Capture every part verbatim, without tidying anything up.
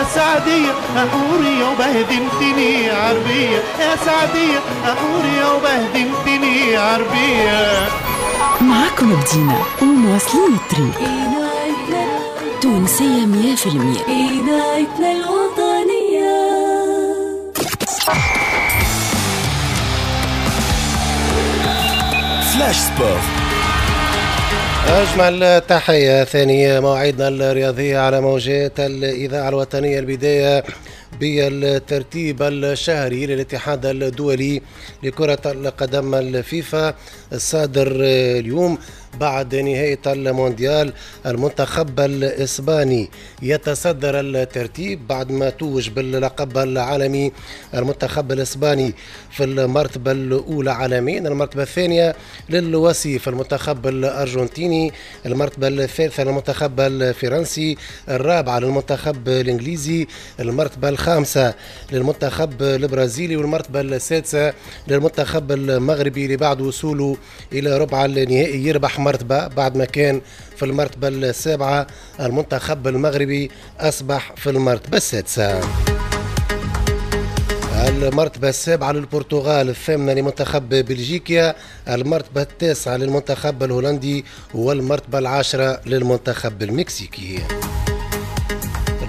السعدية حورية وبهدلتني عربية، يا سعدية حورية وبهدلتني عربية. معاكم بدينا ومواصلين الطريق. تونسية مية في المية. إذاعتنا الوطنية. Flash Sport. أجمل تحية. ثانية مواعيدنا الرياضية على موجات الإذاعة الوطنية. البداية بالترتيب الشهري للاتحاد الدولي لكرة القدم الفيفا الصادر اليوم بعد نهاية المونديال. المنتخب الإسباني يتصدر الترتيب بعد ما توج باللقب العالمي. المنتخب الإسباني في المرتبة الأولى عالميا، المرتبة الثانية للوصيف المنتخب الأرجنتيني، المرتبة الثالثة للمنتخب الفرنسي، الرابعة للمنتخب الإنجليزي، المرتبة الخامسة للمنتخب البرازيلي، والمرتبة السادسة للمنتخب المغربي اللي بعد وصوله إلى ربع النهائي يربح مرتبة بعد ما كان في المرتبة السابعة. المنتخب المغربي أصبح في المرتبة السادسة. المرتبة السابعة للبرتغال، الثامنة لمنتخب بلجيكا، المرتبة التاسعة للمنتخب الهولندي، والمرتبة العاشرة للمنتخب المكسيكي.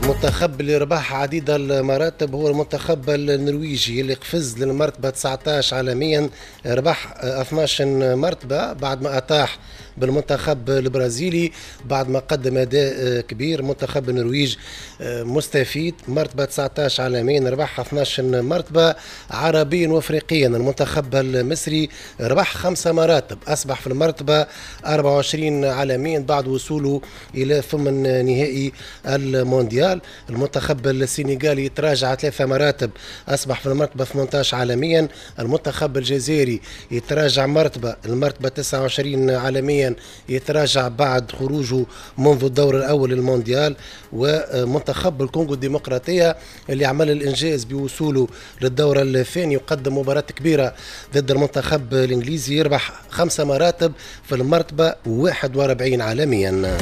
المنتخب اللي ربح عديد المراتب هو المنتخب النرويجي اللي قفز للمرتبة تسعة عشر عالميا، ربح اثنا عشر مرتبة بعد ما أطاح بالمنتخب البرازيلي بعد ما قدم أداء كبير. منتخب النرويج مستفيد، مرتبة تسعة عشر عالميا، ربح اثنا عشر مرتبة. عربيا وافريقيا المنتخب المصري ربح خمسة مراتب، أصبح في المرتبة أربعة وعشرين عالميا بعد وصوله إلى ثمن نهائي المونديال. المنتخب السنغالي تراجع ثلاثة مراتب، أصبح في المرتبة ثمانية عشر عالميا. المنتخب الجزائري يتراجع مرتبة، المرتبة تسعة وعشرين عالميا، يتراجع بعد خروجه منذ الدور الأول للمونديال. ومنتخب الكونغو الديمقراطية اللي عمل الإنجاز بوصوله للدور الثاني وقدم مباراة كبيرة ضد المنتخب الإنجليزي، يربح خمسة مراتب في المرتبة واحد وأربعين عالميا.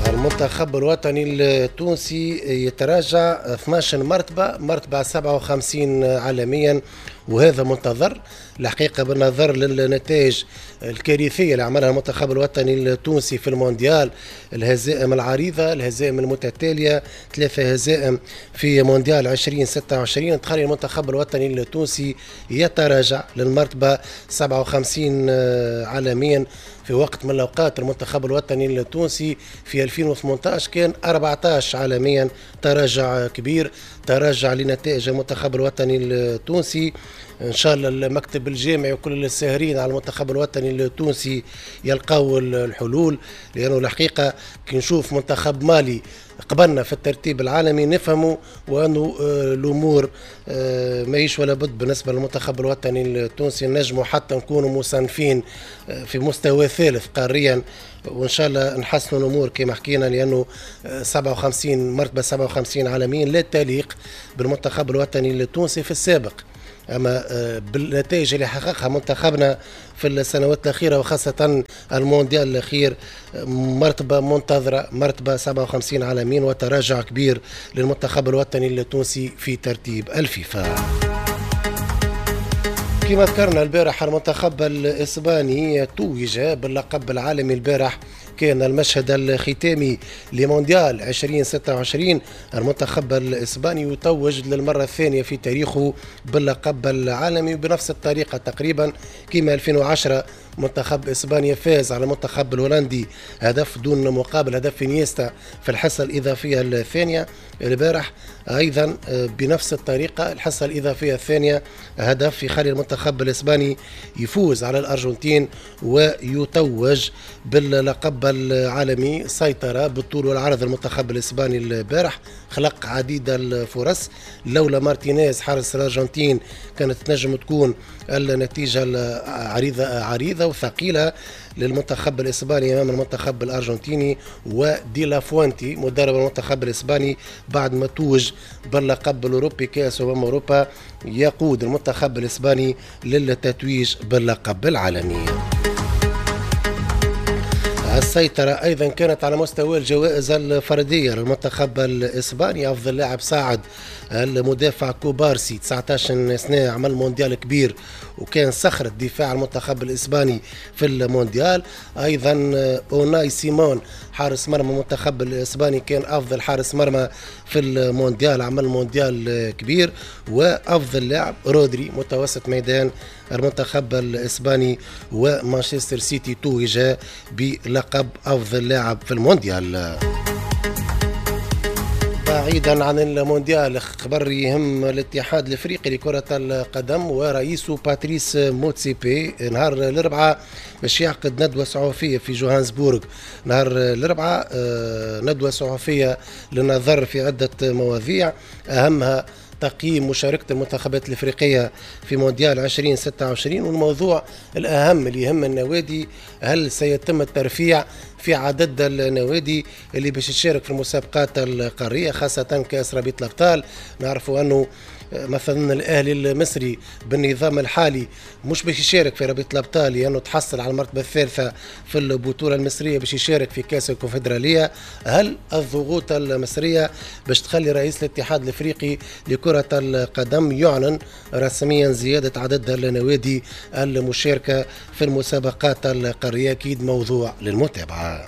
المنتخب الوطني التونسي يتراجع اثنا عشر مرتبة، مرتبة سبعة وخمسين عالميا، وهذا منتظر الحقيقة بالنظر للنتائج الكارثية اللي عملها المنتخب الوطني التونسي في المونديال، الهزائم العريضة، الهزائم المتتالية، ثلاثة هزائم في مونديال عشرين ستة وعشرين، تخلي المنتخب الوطني التونسي يتراجع للمرتبة سبعة وخمسين عالميا. في وقت من الأوقات المنتخب الوطني التونسي في ألفين وثمانية عشر كان أربعة عشر عالميا، تراجع كبير، تراجع لنتائج المنتخب الوطني التونسي. إن شاء الله المكتب الجامعي وكل الساهرين على المنتخب الوطني التونسي يلقاو الحلول، لأنه الحقيقة كي نشوف منتخب مالي قبلنا في الترتيب العالمي نفهموا وأنه الأمور ماهيش ولا بد بالنسبة للمنتخب الوطني التونسي. نجموا حتى نكونوا مصنفين في مستوى ثالث قاريا، وإن شاء الله نحسنوا الأمور كما حكينا، لأنه سبعة وخمسين مرتبة سبعة وخمسين عالميا لا تليق بالمنتخب الوطني التونسي في السابق. أما بالنتائج اللي حققها منتخبنا في السنوات الأخيرة وخاصة المونديال الأخير، مرتبة منتظرة، مرتبة سبعة وخمسين عالميا، وتراجع كبير للمنتخب الوطني التونسي في ترتيب الفيفا. كما ذكرنا البارح المنتخب الإسباني توج باللقب العالمي. البارح كان المشهد الختامي لمونديال ألفين وستة وعشرين، المنتخب الإسباني يتوج للمرة الثانية في تاريخه باللقب العالمي بنفس الطريقة تقريبا كما ألفين وعشرة منتخب إسبانيا فاز على المنتخب الهولندي هدف دون مقابل، هدف إنيستا في الحصة الإضافية الثانية. البارح أيضا بنفس الطريقة الحصة الإضافية الثانية هدف يخلي المنتخب الإسباني يفوز على الأرجنتين ويتوج باللقب العالمي. سيطرة بالطول والعرض المنتخب الإسباني البارح، خلق عديد الفرص، لولا مارتينيز حارس الأرجنتين كانت تنجم تكون النتيجة عريضة عريضة وثقيلة للمنتخب الإسباني أمام المنتخب الأرجنتيني. ودي لا فوانتي مدرب المنتخب الإسباني بعد ما توج باللقب الأوروبي كأس أمم أوروبا يقود المنتخب الإسباني للتتويج باللقب العالمي. السيطرة أيضا كانت على مستوى الجوائز الفردية للمنتخب الإسباني. أفضل لاعب صاعد المدافع كوبارسي، تسعة عشر سنة، عمل مونديال كبير وكان صخرة دفاع المنتخب الإسباني في المونديال. أيضا أوناي سيمون حارس مرمى المنتخب الإسباني كان أفضل حارس مرمى في المونديال، عمل مونديال كبير. وأفضل لاعب رودري متوسط ميدان المنتخب الإسباني ومانشستر سيتي توج بلقب أفضل لاعب في المونديال. بعيدا عن المونديال، خبر يهم الاتحاد الافريقي لكرة القدم ورئيسه باتريس موتسيبي نهار الاربعاء باش يعقد ندوة صحفية في جوهانسبورغ. نهار الاربعاء ندوة صحفية للنظر في عدة مواضيع، اهمها تقييم مشاركة المنتخبات الإفريقية في مونديال ألفين وستة وعشرين، والموضوع الأهم اللي يهم النوادي هل سيتم الترفيع في عدد النوادي اللي باش تشارك في المسابقات القارية خاصة كأس رابطة الأبطال. نعرفوا أنه مثلا الأهلي المصري بالنظام الحالي مش باش يشارك في رابطة الأبطال لأنه تحصل على المرتبة الثالثة في البطولة المصرية باش يشارك في كأس الكونفدرالية. هل الضغوط المصرية باش تخلي رئيس الاتحاد الإفريقي لكرة القدم يعلن رسميا زيادة عدد النوادي المشاركة في المسابقات القارية؟ أكيد موضوع للمتابعة.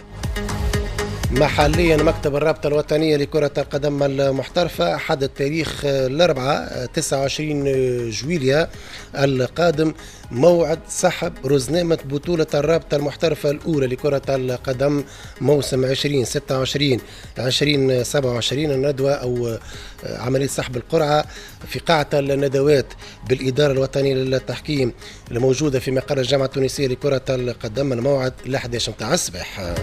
محليا، مكتب الرابطة الوطنية لكرة القدم المحترفة حدد تاريخ الأربعاء تسعة وعشرين جويلية القادم موعد سحب رزنامة بطولة الرابطة المحترفة الأولى لكرة القدم موسم ألفين وستة وعشرين ألفين وسبعة وعشرين. الندوة أو عملية سحب القرعة في قاعة الندوات بالإدارة الوطنية للتحكيم الموجودة في مقر الجامعة التونسية لكرة القدم، الموعد الأحد عشر متاع الصباح.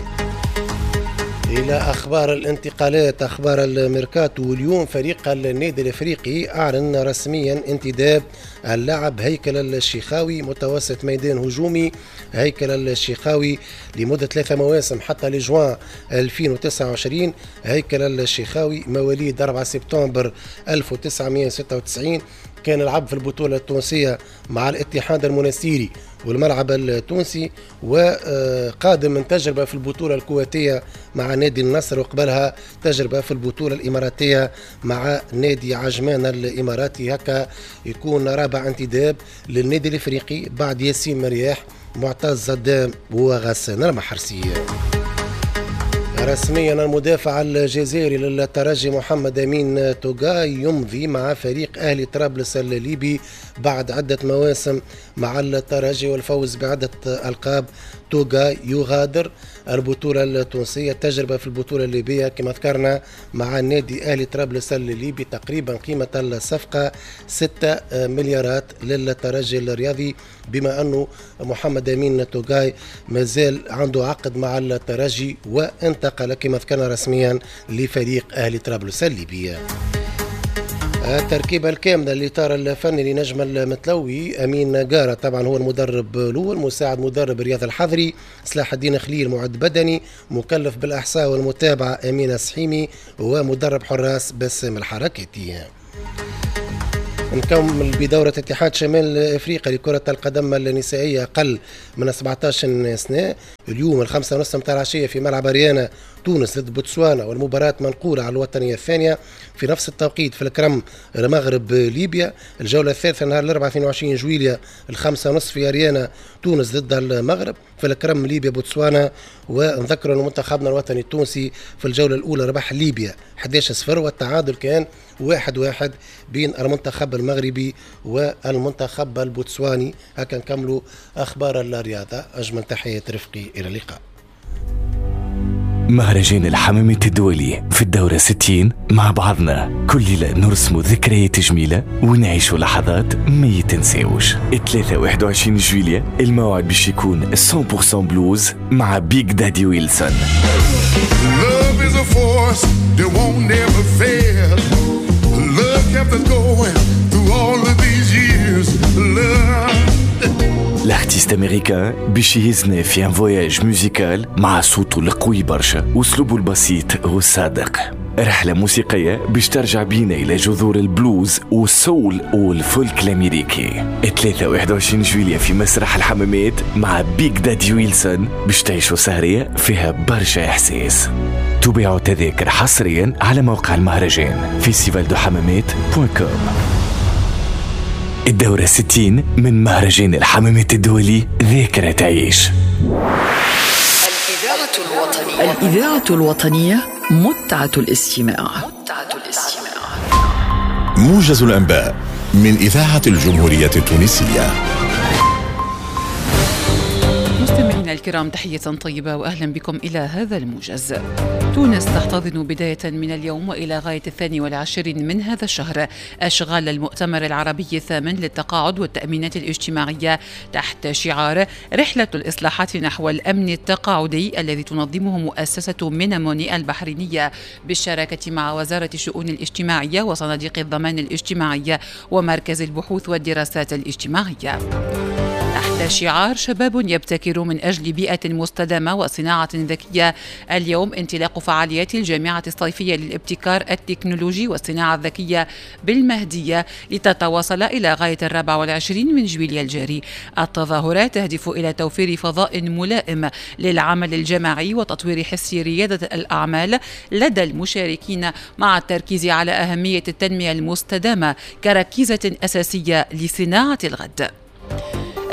إلى أخبار الانتقالات، أخبار الميركاتو. واليوم فريق النادي الإفريقي أعلن رسميا انتداب اللاعب هيكل الشيخاوي متوسط ميدان هجومي. هيكل الشيخاوي لمدة ثلاثة مواسم حتى لجوان ألفين وتسعة وعشرين. هيكل الشيخاوي مواليد أربعة سبتمبر ألف وتسعمائة وستة وتسعين، كان لعب في البطولة التونسية مع الاتحاد المنستيري والملعب التونسي، وقادم من تجربة في البطولة الكويتية مع نادي النصر، وقبلها تجربة في البطولة الإماراتية مع نادي عجمان الإماراتي. هكا يكون رابع انتداب للنادي الإفريقي بعد ياسين مرياح، معتز زدام وغسان المحرسي. رسميا المدافع الجزائري للترجي محمد أمين توغاي يمضي مع فريق أهلي طرابلس الليبي بعد عدة مواسم مع الترجي والفوز بعدة ألقاب. توغاي يغادر البطولة التونسية، تجربة في البطولة الليبية كما ذكرنا مع النادي أهلي طرابلس الليبي. تقريبا قيمة الصفقة ستة مليارات للترجي الرياضي، بما أنه محمد أمين توغاي مازال عنده عقد مع الترجي وانتقل كما ذكرنا رسميا لفريق أهلي طرابلس الليبي. التركيبة الكاملة للإطار الفني لنجم المتلوي: أمين جارة طبعا هو المدرب الأول، مساعد مدرب رياض الحضري، سلاح الدين خليل معد بدني، مكلف بالإحصاء والمتابعة أمين السحيمي، ومدرب حراس باسم الحركاتي. نكمل بدورة اتحاد شمال افريقيا لكرة القدم النسائية أقل من سبعة عشر سنة. اليوم الخمسة ونص متاع العشية في ملعب أريانا تونس ضد بوتسوانا، والمباراة منقولة على الوطنية الثانية. في نفس التوقيت في الكرم المغرب ليبيا، الجولة الثالثة نهار الأربعاء اثنين وعشرين جويلية الخمسة ونص في أريانا تونس ضد المغرب، في الكرم ليبيا بوتسوانا. ونذكر أن منتخبنا الوطني التونسي في الجولة الأولى ربح ليبيا أحد عشر صفر، والتعادل كان واحد واحد بين المنتخب المغربي والمنتخب البوتسواني. هكا نكملوا أخبار الرياضة. أجمل تحية رفقي، إلى اللقاء. مهرجان الحمامات الدولي في الدورة ستين مع بعضنا كل ليلة نرسم ذكريات جميلة ونعيش لحظات ما يتنساوش. ثلاثة وواحد وعشرين جويلية الموعد باش يكون مية بالمية بلوز مع بيج دادي ويلسون. Love is a force that won't never fail. Love kept us going through all of these years. Love. ال artiste américain باش يهزنا في un voyage musical مع صوته القوي برشا واسلوبه البسيط والصادق. رحلة موسيقية باش ترجع بينا إلى جذور البلوز وال soul والفولك الأمريكي. ثلاثة واحد وعشرين جويلية في مسرح الحمامات مع Big Daddy Wilson باش تعيشوا سهرية فيها برشا إحساس. تبيع تذاكر حصريا على موقع المهرجان festival de hammamet point com. الدورة ستين من مهرجان الحمامات الدولي، ذاكرة تعيش. الإذاعة الوطنية، الإذاعة الوطنية متعة الاستماع. متعة الاستماع. موجز الأنباء من إذاعة الجمهورية التونسية. مستمعينا الكرام، تحية طيبة وأهلا بكم إلى هذا الموجز. تونس تحتضن بداية من اليوم وإلى غاية الثاني والعشرين من هذا الشهر أشغال المؤتمر العربي الثامن للتقاعد والتأمينات الاجتماعية تحت شعار رحلة الإصلاحات نحو الأمن التقاعدي الذي تنظمه مؤسسة ميناموني البحرينية بالشراكة مع وزارة الشؤون الاجتماعية وصناديق الضمان الاجتماعي ومركز البحوث والدراسات الاجتماعية. تحت شعار شباب يبتكر من أجل بيئة مستدامة وصناعة ذكية، اليوم انطلاق فعاليات الجامعة الصيفية للابتكار التكنولوجي والصناعة الذكية بالمهدية لتتواصل إلى غاية الرابع والعشرين من جويلية الجاري. التظاهرات تهدف إلى توفير فضاء ملائم للعمل الجماعي وتطوير حس ريادة الأعمال لدى المشاركين، مع التركيز على أهمية التنمية المستدامة كركيزة أساسية لصناعة الغد.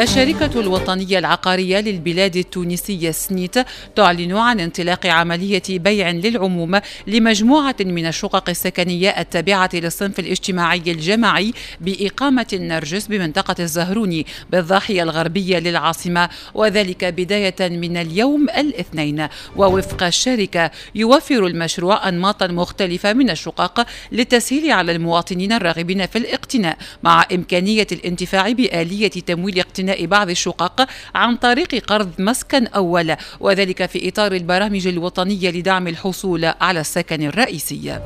الشركة الوطنية العقارية للبلاد التونسية سنيت تعلن عن انطلاق عملية بيع للعموم لمجموعة من الشقق السكنية التابعة للصنف الاجتماعي الجماعي بإقامة النرجس بمنطقة الزهروني بالضاحية الغربية للعاصمة، وذلك بداية من اليوم الاثنين. ووفق الشركة يوفر المشروع أنماطا مختلفة من الشقق للتسهيل على المواطنين الراغبين في الاقتناء، مع إمكانية الانتفاع بآلية تمويل اقتناء بعض الشقق عن طريق قرض مسكن أول، وذلك في إطار البرامج الوطنية لدعم الحصول على السكن الرئيسي.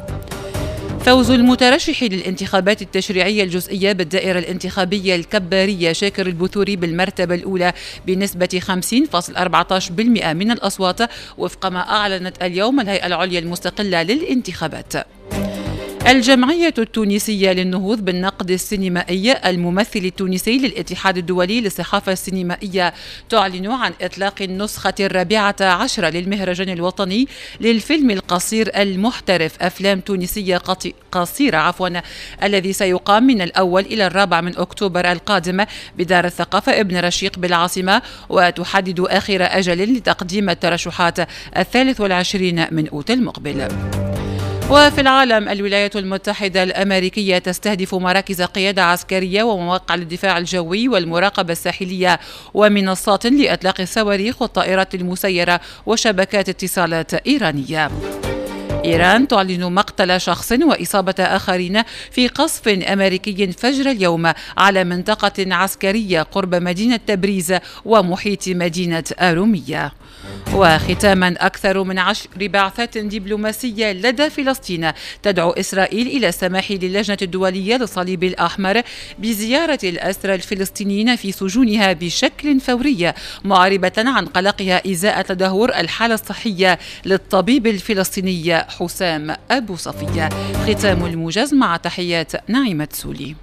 فوز المترشح للانتخابات التشريعية الجزئية بالدائرة الانتخابية الكبارية شاكر البثوري بالمرتبة الأولى بنسبة خمسين فاصل أربعة عشر بالمئة من الأصوات، وفق ما أعلنت اليوم الهيئة العليا المستقلة للانتخابات. الجمعية التونسية للنهوض بالنقد السينمائي الممثل التونسي للاتحاد الدولي للصحافة السينمائية تعلن عن إطلاق النسخة الرابعة عشرة للمهرجان الوطني للفيلم القصير المحترف أفلام تونسية قصيرة عفوا الذي سيقام من الأول إلى الرابع من أكتوبر القادم بدار الثقافة ابن رشيق بالعاصمة، وتحدد آخر أجل لتقديم الترشحات الثالث والعشرين من أوت المقبل. وفي العالم، الولايات المتحدة الأمريكية تستهدف مراكز قيادة عسكرية ومواقع للدفاع الجوي والمراقبة الساحلية ومنصات لإطلاق الصواريخ والطائرات المسيرة وشبكات اتصالات إيرانية. إيران تعلن مقتل شخص وإصابة آخرين في قصف أمريكي فجر اليوم على منطقة عسكرية قرب مدينة تبريز ومحيط مدينة أرومية. وختاما، أكثر من عشر بعثات دبلوماسية لدى فلسطين تدعو إسرائيل إلى السماح للجنة الدولية للصليب الأحمر بزيارة الأسرى الفلسطينيين في سجونها بشكل فوري، معربة عن قلقها إزاء تدهور الحالة الصحية للطبيب الفلسطيني حسام أبو صفية. ختام الموجز مع تحيات نعيمة سولي.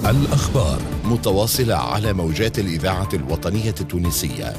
الأخبار متواصلة على موجات الإذاعة الوطنية التونسية.